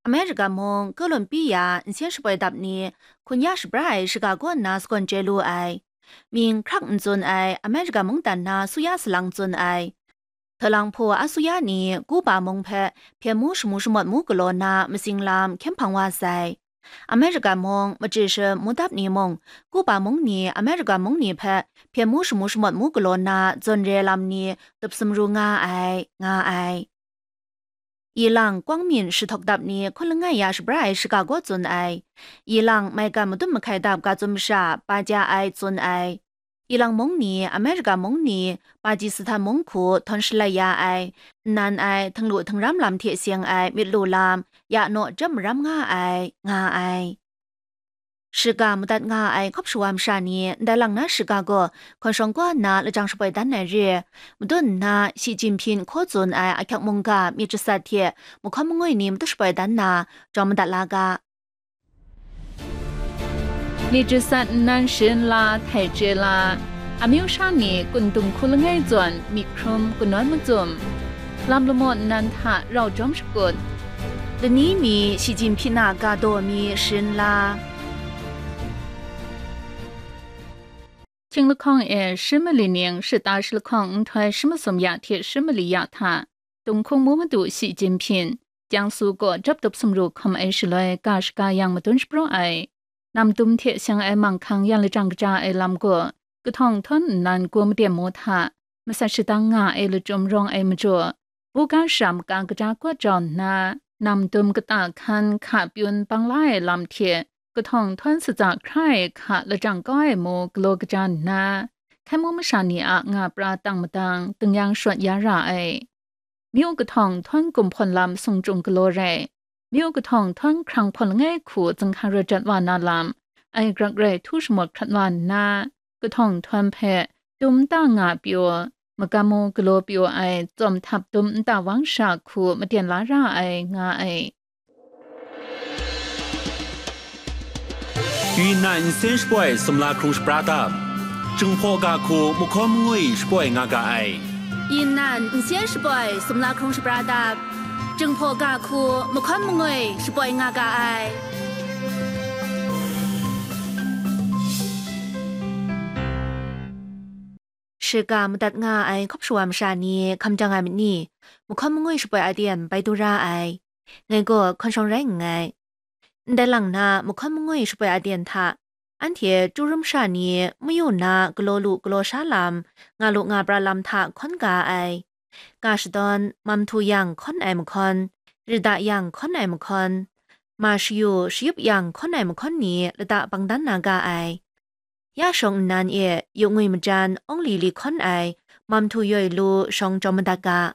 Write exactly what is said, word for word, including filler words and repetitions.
America mung Columbia nsen shapoi dap ni hkun ya shabra ai shaga kaw nna sagawn chye lu ai. Mying hkrak n tsun ai America mungdan na suya salang tsun ai. Htalang hpaw asuya ni Cuba mung hpe hpyen mu shamu shamawt mu galaw na matsing lam hkyen hpang wa sai. America mung machyi sha mudap ni mung Cuba mung ni America mung ni hpe hpyen mu shamu shamawt mu galaw na zawn re lam ni tup sumru nga ai, nga ai. Ilang kwang myin shahtawk dap ni hkun langai ya shabra ai shaga kaw tsun ai. Ilang maigan madun mahkai dap ga tsun masha pa ja ai tsun ai. Ilang mung ni, America mung ni, Pakistan mung hku htawn shalai ya ai, nnan ai, htinglu htingram lam hte seng ai myit lu lam, ya naw jam maram nga ai, nga ai. Shaga madat nga ai hkawp shawa masha ni ndai lang na shaga gaw hkawn shawng kaw nna lajang shapoi dan ai re, madun nna Xi Jinping hkaw tsun ai ahkyak mungga myit jasat hte mahkawn mangwi ni madu shapoi dan nna jawm madat la ga. Myit jasat nnan sharin la, htai chye la, amyu sha ni kun dung hku langai zawn myit hkrum kanawn macum, lam lamaw nnan hta rau jawm shakut, lani mi Xi Jinping a ga daw mi sharin la. Hkying lahkawng e shi mali ning shata shi lahkawng nhtoi shi masum ya hte shi mali ya hta, Tunghkung mu madu Xi Jinping, Jiangsu kaw jap tup sumru hkawm ai shaloi ga shaga yang madun shapraw ai, nam dum hte seng ai manghkang yan lajang kaja ai lam gaw, kahtawng htawn nnan gum maden mu hta, masat shadang nga ai lachyum rawng ai majaw, buga shara maka kaja kawt jau nna, nam dum kata hkan hka pyun bang la ai lam hte, kahtawng htawn satsa hkra ai hka lajang kau ai mu galaw kaja nna, hkai mu masha ni a nga pra tang madang, tingnyang shawt ya ra ai. Myu kahtawng htawn gumhpawn lam sung chyung galaw rai, myu kahtawng htawn hkrang hpawn langai hku zinghka rawt jat wa na lam, ai grak rai htu shamawt hkrat wa nna, kahtawng htawn hpe dum nta nga pyaw, magam mu galaw pyaw ai tsawm htap dum nta wang sha hku maten la ra ai, nga ai. Yunnan nsen shapoi sumla hkrung shapra dap, Jinghpaw ga hku mahkawn mangwi shapoi nga ga ai. Yunnan nsen shapoi sumla hkrung shapra dap, Jinghpaw ga hku mahkawn mangwi shapoi nga ga ai. Shaga madat nga ai hkawp shawa masha ni hkam jang ai myit ni? Mahkawn mangwi shapoi aten bai du ra ai. Ngai gaw hkawn shawng rai nngai. Ndai lang na mahkawn mangwi shapoi aten hta, anhte chyu rum sha ni mayu na galaw lu galaw sha lam, nga lu nga pra lam hta hkawn ga ai. Ga shadawn, mam htu yang hkawn ai mahkawn, rida yang hkawn ai mahkawn, ma shayu shayup yang hkawn ai mahkawn ni lata bang dan na ga ai. Ya shawng nnan e yu ngwi majan awng li li hkawn ai, mam htu yoi lu shawng jawm madat ga.